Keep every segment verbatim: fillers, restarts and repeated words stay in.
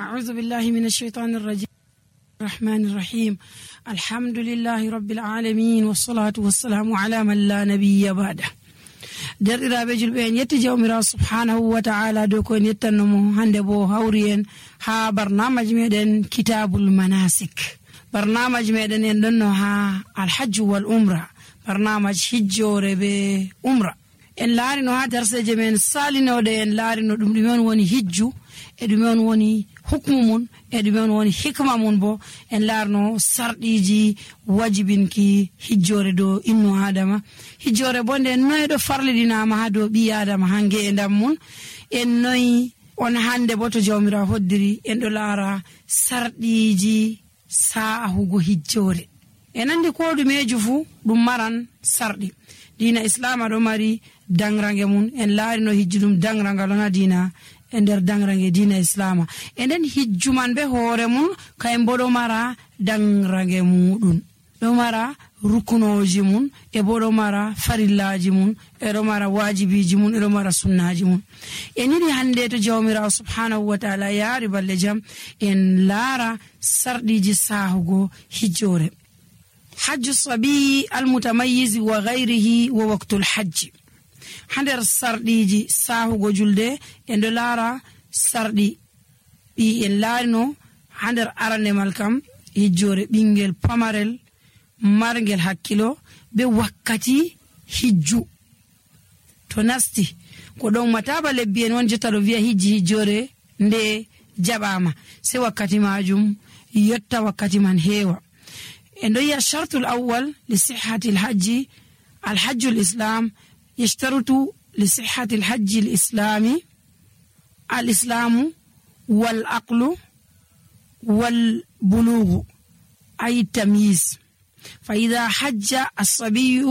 أعوذ بالله من الشيطان الرجيم الرحمن الرحيم الحمد لله رب العالمين والصلاة والسلام على من لا نبي بعده. derɗiraɓe julɓe en yetti jawmirawo subhanahu wa ta'ala dow ko en yettannomo hande bo hawri en ha barnamaji meɗen kitabul manasik. barnamaji meɗen en ɗonno ha alhajju wal umra, barnamaji hijjore be umra. en laarino ha darseje men salinoɗe en laarino ɗum ɗume on woni hijju e ɗume on woni hukmu mun e ɗume on woni hikma mun. bo en laarno sarɗiji wajibinki hijjore dow innu adama. hijjore bo nde noyi ɗo farliɗinama ha dow ɓi adama ha nge'endam mun. en noyi on hande bo to jawmirawo hoddiri en ɗo laara sarɗiji sa'ahugo hijjore. en andi ko ɗumeju fu ɗum maran sarɗi. dina islama ɗo mari dangrange mun. en laarino hijju ɗum dangrangal on ha dina e nder dangrange dina islama. e nden hijju man be hoore mun kayen bo ɗo mara dangrange muɗum, ɗo mara rukunoji mun e bo ɗo mara farillaji mun e ɗo mara wajibiji mun e ɗo mara sunnaji mun. en yiɗi hande to jawmirawo subhanahu wa ta'ala yaari balle jam en laara sarɗiji sahugo hijjore. hajju sabiyi almutamayyiz wa ghayrihi wa waqtul hajji. ha nder sarɗiji sahugo julde en ɗo laara sarɗi ɗi en laarino ha nder arandemal kam hijjore ɓingel pamarel margel hakkilo be wakkati hijju to nasti. ko ɗon mataba lebbi en won jotta ɗo wiya hijji hijjore nde jaɓama se wakkati majum yotta wakkati man heewa. en ɗo yiya shartul awwal li sihhati alhajji alhajju lislam يشترط لصحة الحج الإسلامي الإسلام والعقل والبلوغ أي التمييز. فإذا حج الصبي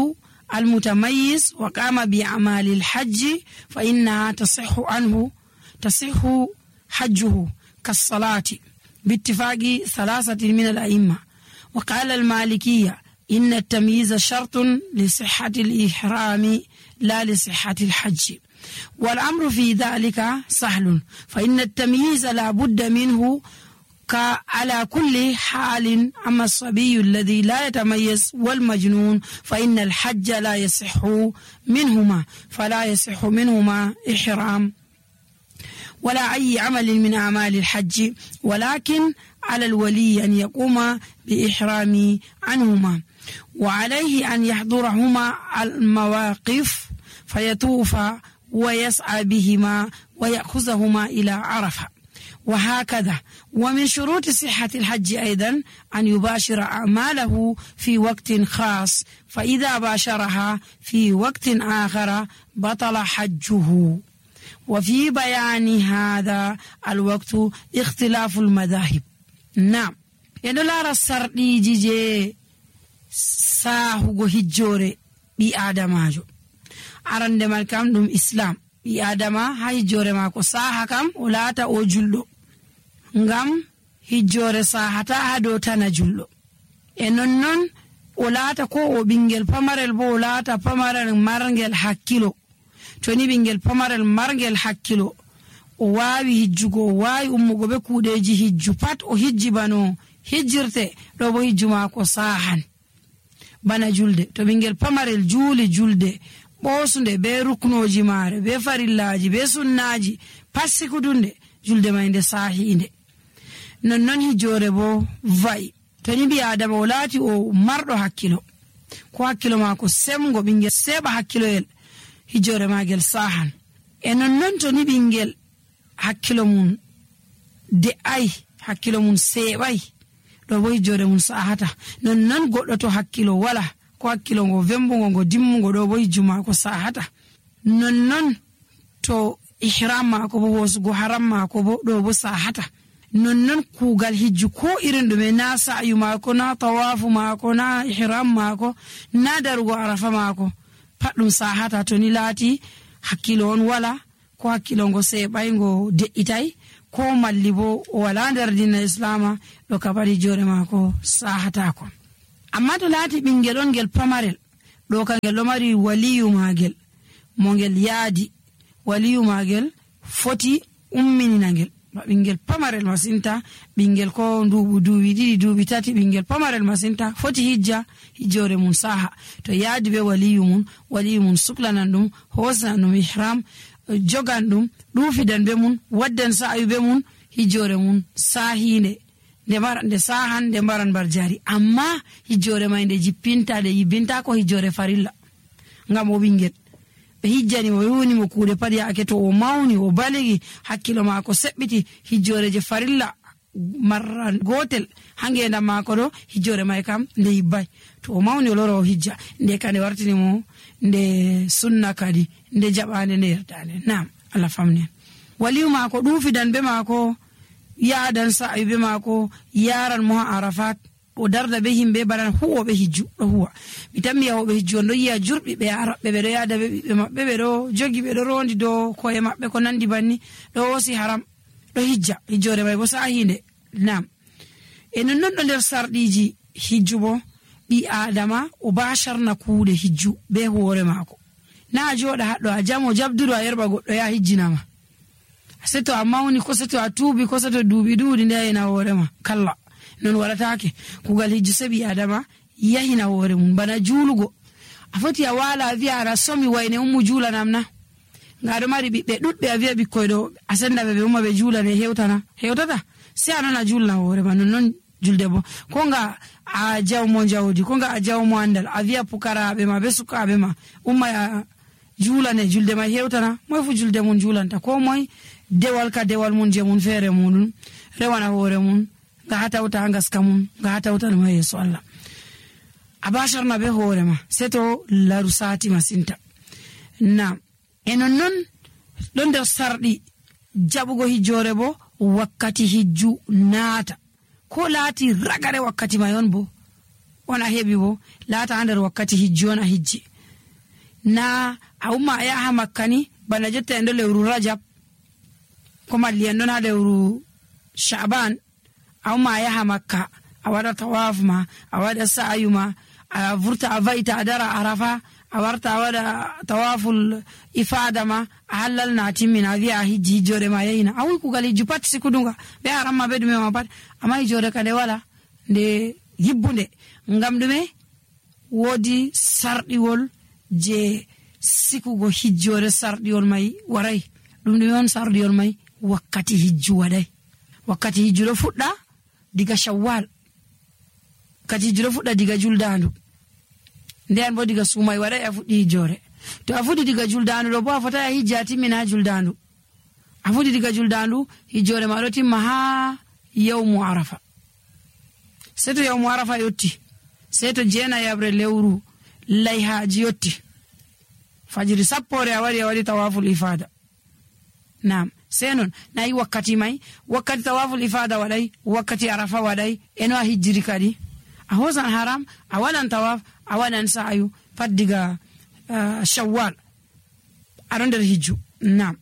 المتميز وقام بأعمال الحج فإنها تصح عنه تصح حجه كالصلاة باتفاق ثلاثة من الأئمة. وقال المالكية إن التمييز شرط لصحة الإحرام لا لصحة الحج، والأمر في ذلك سهل، فإن التمييز لا بد منه على كل حال. أما الصبي الذي لا يتميز والمجنون فإن الحج لا يصح منهما، فلا يصح منهما إحرام ولا أي عمل من أعمال الحج، ولكن على الولي أن يقوم بإحرام عنهما، وعليه أن يحضرهما المواقف فيطوف ويسعى بهما ويأخذهما إلى عرفة، وهكذا. ومن شروط صحة الحج أيضا أن يباشر أعماله في وقت خاص، فإذا باشرها في وقت آخر بطل حجه. وفي بيان هذا الوقت اختلاف المذاهب. نعم يدلار السردي جيجي ساهو هجوري بي آدماجو arande mal kam ɗum islam. ɓi adama ha hijjore mako saha kam o laata o julɗo, ngam hijjore sahata ha dow tana julɗo. e nonnon o laata ko o ɓingel pamarel bo o laata pamarel margel hakkilo. to ni ɓingel pamarel margel hakkilo o wawi hijjugo, o wawi ummugo be kuuɗeji hijju pat o hijji bano hijjirte, ɗo bo hijju mako sahan bana julde. to ɓingel pamarel juuli julde ɓosunde be ruknoji maare be farillaji be sunnaji passikudunde, julde may nde sahinde. nonnon hijjore bo va'i. to ni ɓi adama o laati o marɗo hakkilo, ko hakkilo mako semgo, ɓingel seɓa hakkiloyel, hijjore magel sahan. e nonnon to ni ɓingel hakkilo mum de'ai, hakkilo mum seɓai, ɗo bo hijjore mum sahata. nonnon goɗɗo to hakkilo wala, ko hakkilo ngo vembugo ngo dimmugo, ɗo bo hijju mako sahata. nonnon to ihram mako bo hosugo haram mako bo ɗo bo sahata. nonnon kugal hijju ko irin ɗume, na sa'yu mako, na tawafu mako, na ihram mako, na darugo arafa mako, pat ɗum sahata to ni laati hakkilo on wala, ko hakkilo ngo seɓai ngo de'itai, ko malli bo o wala nder dina islama, ɗo kabari hijjore mako sahatako. amma to laati ɓingel on ngel pamarel, ɗo kangel ɗo mari waliyu magel mo ngel yaadi, waliyu magel foti umminina ngel, ɓingel pamarel masinta, ɓingel ko nduɓu duuɓi ɗiɗi duuɓi tati, ɓingel pamarel masinta foti hijja hijjore mum saha. To yaadi ɓe waliyu mum, waliyu mum suklanan ɗum, hosnan ɗum ihram, jogan ɗum, ɗuufidan be mum, waddan sa'ayu be mum, hijjore mum sahinde nde mara nde sahan nde mbaran bar jari. Amma hijjore mai nde jippinta nde yibbinta ko hijjore farilla, ngam o ɓingel ɓe hijjani mo yuni mo kuuɗe pat yaake to o mawni o baligi hakkilo maako seɓɓiti, hijjore je farilla marra gotel ha ngendam maako ɗo, hijjore mai kam nde yibbay. To o mawni o loro o hijja, nde ka nde wartini mo nde sunna kadi nde jaɓande nde yerdande. Nam Allah famnen. Waliyu maako ɗuufidan be maako, yaadan sa'ayu be maako, yaran mo ha Arafat, o darda be himɓe banan huwoɓe hijju ɗo huwa. Mi tammi yahoɓe hijju on ɗo yiya jurɓi ɓe araɓɓe ɓeɗo yaada be ɓiɓɓe maɓɓe, ɓeɗo jogi ɓeɗo rondi dow koye maɓɓe ko nandi banni, ɗo wosi haram ɗo hijja, hijjore mai bo sahinde. Nam e nonnon ɗo nder sarɗiji hijju bo ɓi adama o basharna kuuɗe hijju be hoore maako, na a joɗa haɗɗo a jamo jabduɗo a yerɓa goɗɗo ya hijjinama, seto a mawni ko seto a tuubi ko seto duuɓi ɗuuɗi nde yahina hoorema, kalla non waɗatake. kugal hijju seɓi adama yahina hoore mum bana juulugo. A foti a waala a wiya aɗa somi wayne ummu juulanam na, nga aɗo mari ɓiɓɓe ɗuɗɓe a wiya ɓikkoy ɗo a sendaɓe ɓe umma ɓe juulane, hewtana hewtata, se a non a julna hoorema. nonnon julde bo ko nga a jawmo jawdi, ko nga a jawmo andal, a wiya pukaraɓe ma be sukaɓe ma umma ya juulane, julde mai hewtana. moy fu julde mum juulanta, ko moy dewal ka dewal mum je mum feere muɗum rewana hoore mum, nga hatawta ngaska mum, nga hatawta ɗum ha yeeso Allah. a basharna be hoore ma seto laru sati masinta. na e nonnon ɗon nder sarɗi jaɓugo hijjore bo wakkati hijju naata, ko laati ragare wakkati mai on bo on a heɓi bo laata ha nder wakkati hijju on a hijji. na a umma a yaha Makka ni bana jotta en ɗo lewru Rajab ko malli en ɗon ha lewru Sha'ban, a umma a yaha Makka a waɗa tawaf ma, a waɗa sa'ayu ma, a vurta a va'ita a dara Arafa, a warta a waɗa tawaful ifada ma, a hallal na timmina a wiya a hijji hijjore ma yahina. a wi kugal hijju pat sikudunga be haram ma be ɗume ma pat, amma hijjore ka nde wala nde yibbunde, ngam ɗume woodi sarɗiwol je sikugo hijjore. sarɗiwol mai waray ɗum ɗume on sarɗiwol mai? wakkati hijju waɗay. wakkati hijju ɗo fuɗɗa diga Shawwal, wakkati hijju ɗo fuɗɗa diga juldandu, nden bo diga sumay waɗay a fuɗɗi hijjore. to a fuɗɗi diga juldandu ɗo bo a fota a hijja a timmina ha juldandu, a fuɗɗi diga juldandu hijjore ma ɗo timma ha yawmu Arafa. sei to yawmu Arafa yotti, sei to jeena yabre lewru layhaji yotti, fajiri sappore a waɗi a waɗi tawaful ifada. nam sei non nayi wakkati mai, wakkati tawaful ifada waɗay, wakkati Arafa waɗay, eno a hijjiri kadi a hosan haram, a waɗan tawaf, a waɗan sa'ayu pat diga uh, Shawwal aɗon nder hijju. nam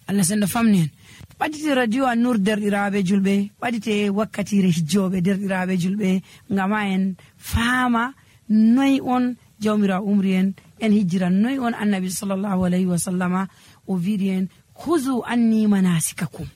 Allah sendo famni en. ɓaɗite radio a Nur derɗiraɓe julɓe, ɓaɗite wakkatire hijjoɓe derɗiraɓe julɓe, ngama en faama noy on jawmira umri en en hijjira, noy on annabi sallallahu alayhi wa sallama o wiɗi en huzu anni manasikakum.